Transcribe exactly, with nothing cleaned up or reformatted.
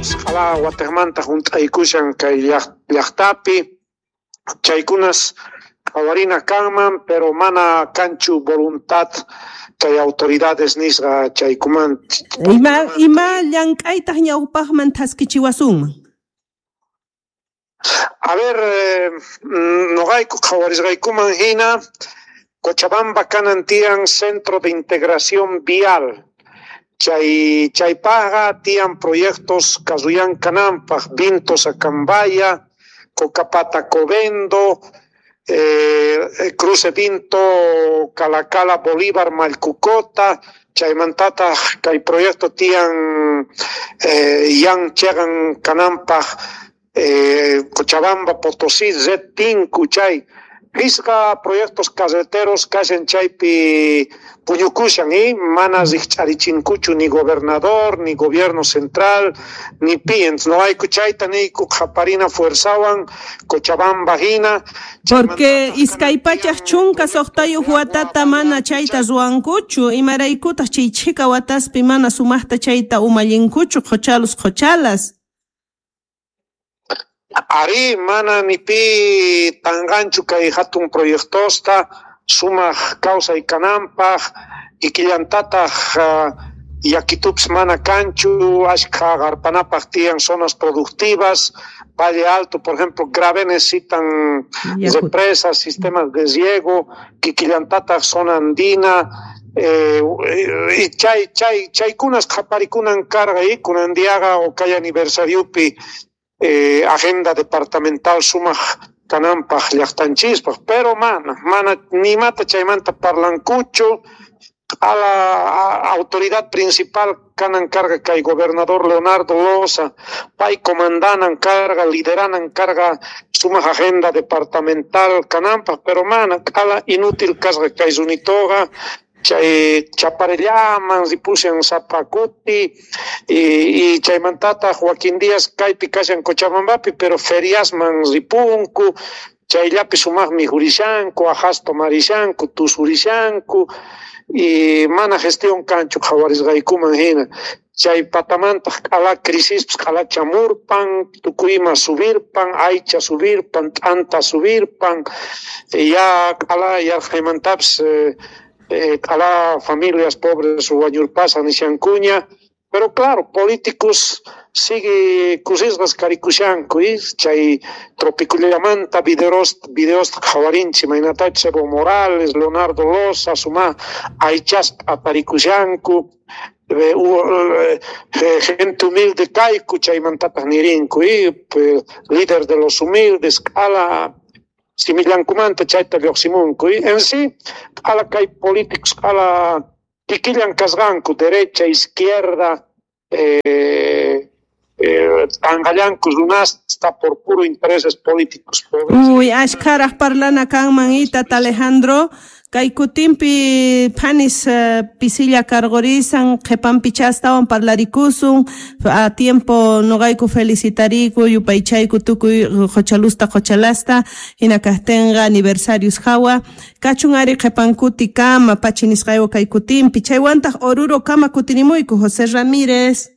Qala wataqmanta hunt'aykushan kay llaqtapi chaykunas qhawarina kanman, pero mana kanchu voluntad kay autoridades nisqa chaykuman. Ima ima llank'aytaq ñawpaqman thaskichiwasunman? A ver, eh, noqayku qhawarisqaykuman hina Cochabamba kanan tiyan Centro de Integración Vial. Chay chaypaqqa tiyan proyectos Cazuyan kananpaq, Vintos Acambaya, Cocapata Covendo, eh, Cruce Vinto, Calacala Bolívar, Malcucota, chaymantataq kay proyecto tiyan eh, yan chegan kananpaq eh, Cochabamba, Potosí, Red Tinku, chay Pisqa proyectos carreteros kashan chaypi puñukushan y mana rikch'arichinkuchu ni gobernador, ni gobierno central, ni pi. No hay chayta niyku qhaparina fuerzawan Cochabamba hina. Porque iskay pachak chunka suqtayuq watata mana chayta ruwankuchu, imaraykutaq chay chhika wataspi mana sumaqta chayta umallinkuchu qhuchalus qhuchalas. Ari mana ni pi tanganchu kay hatun proyectosta sumaq kawsay kananpaq ikillantataq uh, yakitups mana kanchu ashkha qarpanapaq tiyan zonas productivas Valle Alto, por ejemplo, grave necesitan represas, sistemas de riego, kikillantataq zona andina, eh, y chay chay chaykunas qhaparikunan karqa y kunan diaqa o kay aniversariopi Eh, agenda departamental sumaq kananpaq llaqtanchispaq, pero mana, mana nimata chaymanta parlankuchu. A la a, autoridad principal kanan karqa kay gobernador Leonardo Loza, pay comandanan karqa, lideranan karqa sumaq agenda departamental kananpaq, pero mana, q'ala inútil kasqa kay runitoqa. Chay chaparellaman ripushan sapa kuti y, y chaymantataq Joaquín Díaz kaypi kashan Cochabambapi, pero feriasman ripunku, chayllapi sumaqmi jurishanku, ajas tomarishanku, tusurishanku y mana gestión kanchu qhawarisqaykuman hina. Chay patamantaq q'ala crisispis q'ala chamurpan, tukuyma subirpan, aycha subirpan, t'anta subirpan, ya q'ala yarqhaymantapis eh, Eh, a familias pobres wañurpasan nishankuña, pero claro, políticos sigue kusisqas karikushanku y chay tropicullamanta videos videos qhawarinchik imaynatachus Evo Morales, Leonardo Loza, suma aychaspa aparikushanku, eh, eh, gente humilde kayku chaymantataq nirinku y eh, líder de los humildes q'ala simillankumanta chayta lluqsimunku y en sí q'ala kay políticos q'ala kikillan kasqanku derecha, izquierda, eh, eh, tanqallanku runasta por puro intereses políticos. Uy, ashkharaq parlana kanman tata Alejandro. Kay kutinpi phanis uh, pisilla karqurisan qhipanpi chastawan parlarikusun a tiempo noqayku felicitariku yupaychayku tukuy qhuchalusta qhuchalasta hina kaqtinqa aniversarios hawa kachun ari qhipankuti kama pachi nisqaywan kay kutinpi chaywantaq Oruro kama kutinimuyku José Ramírez.